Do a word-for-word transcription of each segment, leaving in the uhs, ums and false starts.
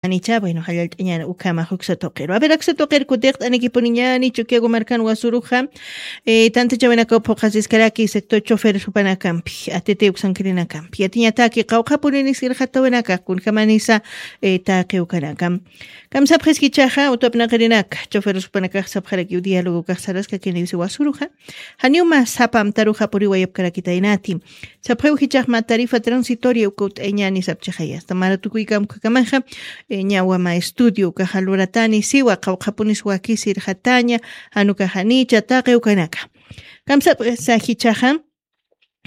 Janicha, bueno, jallallt'añäni ukhama juksa tuqiru. A ver, aksa tuqir kutiqt'anikipuniñäni Chukiyawu markan wasuruxa, eh, tantachawinakaw phuqhasiskaraki sector choferes jupanakampi, A T T uksankirinakampi. Yatiñataki qawqhapuninis irxatawinaka, kunjamanisa, eh, taqi ukanaka. Kamsapxis jichhaxa, utwapnaqirinaka, choferes jupanakax sapxarakiw diálogo kax saraskakiniwsi wasuruxa. Janiw mä sapa amtaruxa puriwayapkarakitaynati. Sapxiw jichhax mä tarifa transitoria uka ut'ayañäni sapchixaya. Hasta mara tukuykamkakamaxa, eh, ñawa mä estudio ukaxa luratani siwa, qawqhapunis wakisi irxataña, jan ukax janicha taqi ukanaka. Kamsapxisa jichhaxa,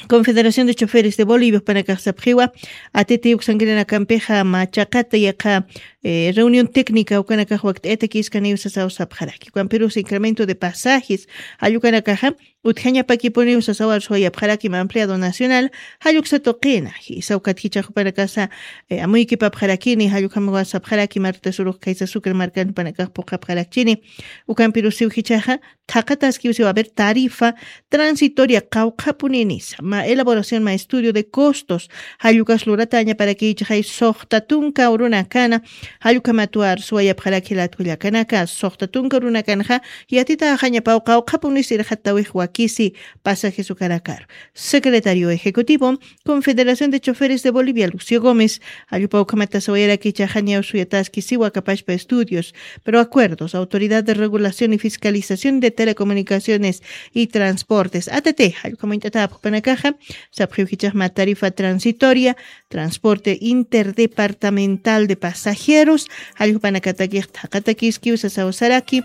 Confederación de Choferes de Bolivia jupanakax sapxiwa, A T T uksankirinakampixa mä chaqata yaqha, eh, reunión técnica ukanakax wakt'ayatakïskaniw sasaw sapxaraki. Ukampirus incremento de pasajes, jall ukanakaxa, utjañapakipuniw sasaw arsuwayapxaraki mä empleado nacional, jall uksa tuqina. Jisa ukat jichhax jupanakasa, eh, amuykipapxarakini, jall ukhamawa sapxaraki Marta Surux Kaysa Sucre markan jupanakax phuqhapxarakchini. Ukampirusiw jichhaxa, thaqataskiw siwa, a ver, tarifa transitoria qawqhapuninisa, mä elaboración, mä estudio de costos, jall ukas luratañaparakïchixay suxta tunka urunakana, jall ukhamatwa arsuwayapxaraki jilat kullakanaka, suxta tunka urunakanxa, yatitaxañapaw qawqhapunis irxatawix wakisi pasajes ukanakaru. Secretario Ejecutivo, Confederación de Choferes de Bolivia, Lucio Gómez, jall ukaw ukhamata sawayaraki jichhaxa ñaw suyataski siwa aka pachpa estudios, pero acuerdos, Autoridad de Regulación y Fiscalización de Telecomunicaciones y Transportes, A T T, jall ukham uñt'atäpxi jupanakaxa, sapxiw jichhax mä tarifa transitoria, transporte interdepartamental de pasajeros, jall ukham jupanakatakix thaqatakiskiw sasaw saraki,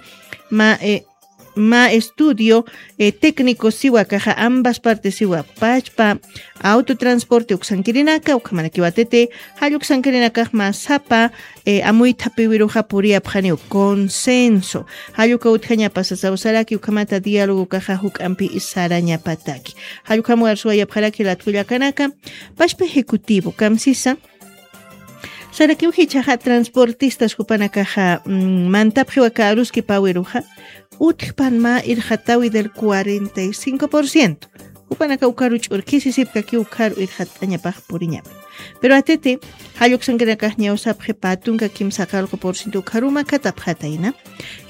mä, eh, mä estudio, eh, técnico siwa akaxa, ambas partes siwa, pachpa autotransporte uksankirinaka, ukhamarakiw A T T, jall uksankirinakax mä sapa, eh, amuythapiwiruxa puriyapxaniw consenso. Jall uka utjañapa sasaw saraki, ukhamata diálogo ukaxa juk'ampi sarañapataki. Jall ukham arsuwayapxaraki jilat kullakanaka, pachpa ejecutivo kamsisa, sarakiw jichhaxa transportistas jupanakaxa, mm, mantapxiw aka aruskipawiruxa, utjpan mä irxatawi del cuarenta y cinco por ciento. Jupanaka ukaru ch'urkhisisipkakiw ukaru irxat'añapax puriñapa. Pero A T T, jall uksankirinakax ñaw sapxi pä tunka kimsaqallqu por ciento ukharu makatapxatayna.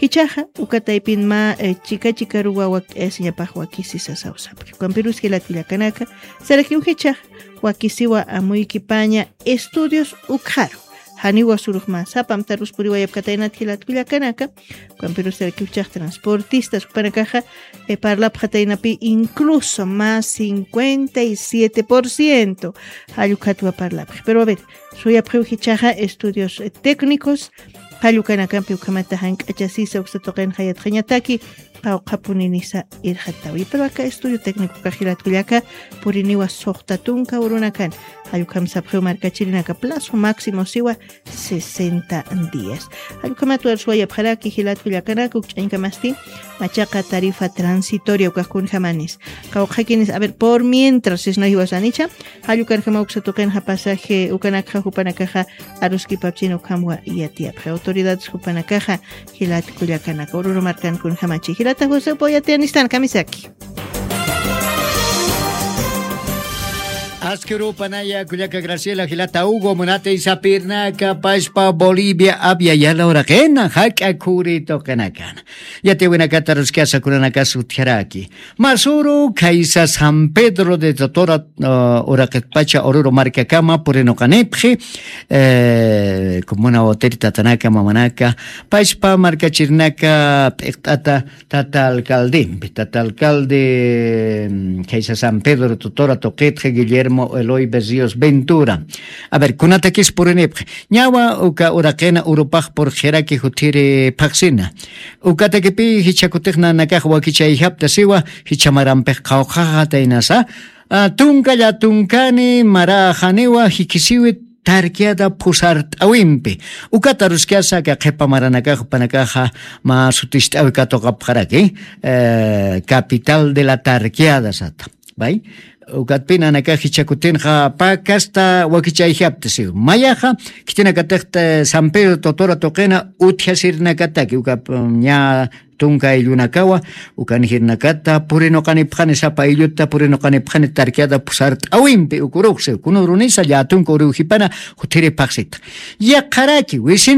Jichhaxa, uka taypin mä, eh, chika chikaruwa wakt'ayasiñapax wakisi sasaw sapxi. Ukampirus jilat kullakanaka, sarakiw jichhax, wakisiwa amuykipaña estudios ukxaru. Janiwa surux mä sapa amtarus puriwayapkataynat jilat kullakanaka, ukampirus sarakiw jichhax transportistas jupanakaxa, eh, parlapxataynapi incluso mä cincuenta y siete por ciento jall ukhatwa parlapxi. Pero a ver, suyapxiw jichhaxa estudios, eh, técnicos, jall ukanakampi ukhamata jank'achasisa uksa tuqinxa yatxañataki, qawqhapuninisa irxatawi. Pero aka estudio técnico ukax jilat kullaka puriniwa suxta tunka urunakan. Jall ukham sapxiw markachirinaka plazo máximo siwa sesenta días. Jall ukhamat arsuwayapxaraki jilat kullakanaka ukch'añkamasti machaqa tarifa transitoria ukax kunjamanis. Qawqhakinis, a ver, por mientras sisna jiwasanicha, jall ukanjama uksa tuqinxa pasaje ukanakxa jupanakaxa aruskipapchini ukhamwa yatiyapxi. Autoridades jupanakaxa jilat kullakanaka, ururu markan kunjamachi. Jilata José, upaw yatiyanistan kamisaki. Aski urupanaya kullaka Graciela, jilata Hugo, munatay sapirnaka pachpa Bolivia apyayala uraqina, jak'a khuri tuqinakana. Yatiyawinakata aruskasa kunanakas utjaraki. Masuru, khaysa San Pedro de Totora, uh, uraqitpacha ururu markakama purinuqanipxi, eh, comuna Oteri tatanaka, mamanaka, pachpa markachirinaka p'iqt'ata tata alcaldempi, tata alcalde, mm, khaysa San Pedro Totora tuqitxa Guillermo Eloy Berríos Ventura. A ver, kunatakis purinipxi. Ñawa uka uraqina urupax purxiraki jutiri phaxsina. Ukatakipi jichha kutix nanakax wakichayjapta siwa, jichha marampix qawqhaxataynasa. Ah, tunkalla tunkani maraxaniwa jikisiwi tarqueada phusart'awimpi. Ukata aruskasa aka qhipa maranakax jupanakaxa mä sutist'awi katuqapxaraki, eh, capital de la tarqueada sata. Bay. Ukatpina nakax jichakutinxa pakasta wakichayjapta siw mayaxa, khitinakatixta san pedro totora tuqina utjasirnakataki uka ña tunka ayllunakawa. Ukanjirnakata purinuqanipxani sapa aylluta purinuqanipxani tarkiata pusart'awimpi ukurux siw kunurunisa llatunka uriwjipana. Juthiripxaxsita yaqharaki wisin